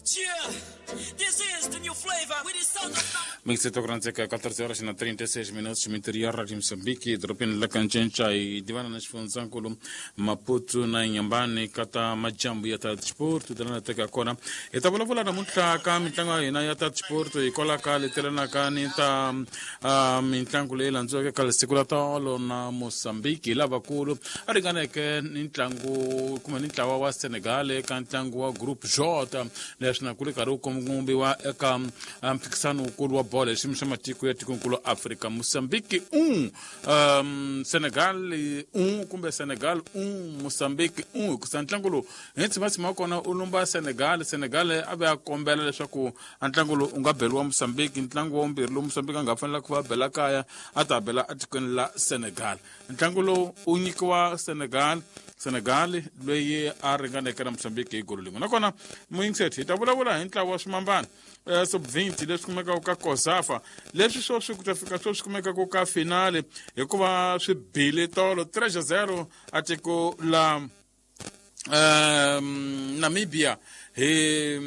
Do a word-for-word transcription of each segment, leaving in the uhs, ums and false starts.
Yeah, this is the new flavor with the sound of Mixeto kuranzeka catorze horas na trinta e seis minutos interior de Moçambique, dropini la Kanjencha e divana na Xifundzankulu Maputo na Inhambane kata majambu ya ta disporto dalana teka kona hi ta vulavula namuntlha ka mitlangu ya hina ya ta disporto hikwalaho ka letelanaka ni ta uh, mitlangu leyi landziweke ka siku la tolo na Mozambique hi lavakulu a ringaneke ni ntlangu kumbe ni ntlawa wa Senegal eka ntlangu wa Group J leswi na ku ri karhi wu kombiwa eka mphikisano wukulu wa bolo hi xiyimo xa matiko ya tikonkulu Afrika. Mozambique un um, Senegal un kumbe Senegal un Mozambique un hikusa ntlangu lowu hi ntshima wa kona u lumba Senegal. Senegal a ve a kombela leswaku a ntlangu lowu u nga beriwa Mozambique. Ntlangu wa vumbirhi lowu Mozambique a nga fanela ku va bela kaya a ta bela etikweni la Senegal. Ntlangu lowu u nyikiwa Senegal, Senegal loyi a ringaneke na Mozambique hi golo lin'we. Nakona muyingiseti hi ta vulavula hi ntlawa wa swimambana eh, sub twenty leswi kumekaka ka COSAFA leswi sweswi ku ta fika sweswi kumekaka ka finale hikuva swi bile tolo three zero a tiko la um, Namibia hi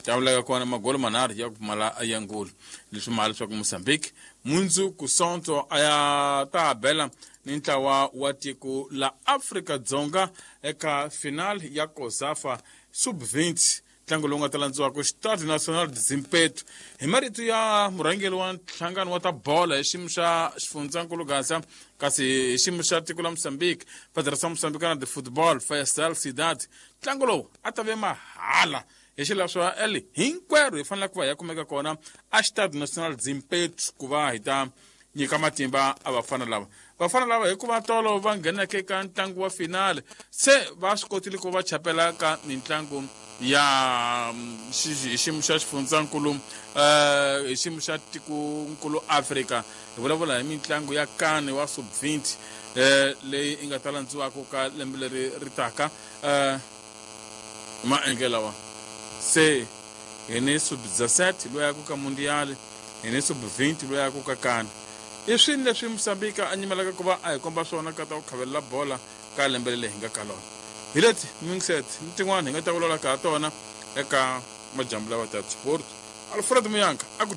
tavulaka kona magolo manharhu ya ku pfumala ya ngulu leswi mali leswaku Mozambique mundzuku Sonto a ya ta bela ni ntlawa wa tiko la Afrika Dzonga eka final ya COSAFA sub twenty ntlangu lowu nga ta landziwaka Stade National de Zimpeto. Hi marito ya murhangeri wa nhlangano wa ta bola hi xiyimo xa xifundzankulu Gaza kasi hi xiyimo xa tiko la Mozambique Federação Moçambicana de Football Faisal Cidade, ntlangu lowu a ta ve mahala hi xileswo eli hinkwerhu hi fanele ku va hi ya kumeka kona a Stade National de Zimpeto ku va hi ta nyika matimba a vafana lava. Vafana lava hikuva tolo va ngheneke eka ntlangu wa finale se va swi kotile ku va chapela ka mitlangu ya hi xiyimo xa xifundzankulu eh hi xiyimo xa tikonkulu Afrika. Hi vulavula hi mitlangu ya kane wa sub twenty eh leyi yi nga ta landziwaka ka lembe leri ri taka eh maendlelo lawa se hi ni sub dezessete loyi ya ku ka mundial, hi ni sub twenty loyi ya ku ka kane. I swini leswi Mozambique a nyimelaka ku va a hi komba swona ka ta ku khavelela bola ka lembe leri hi nga ka lona. Hi leti mixet ni tin'wana hi nga ta vulavula ka ha tona eka majambu lawa ta sport. Alfred Muyanka a ku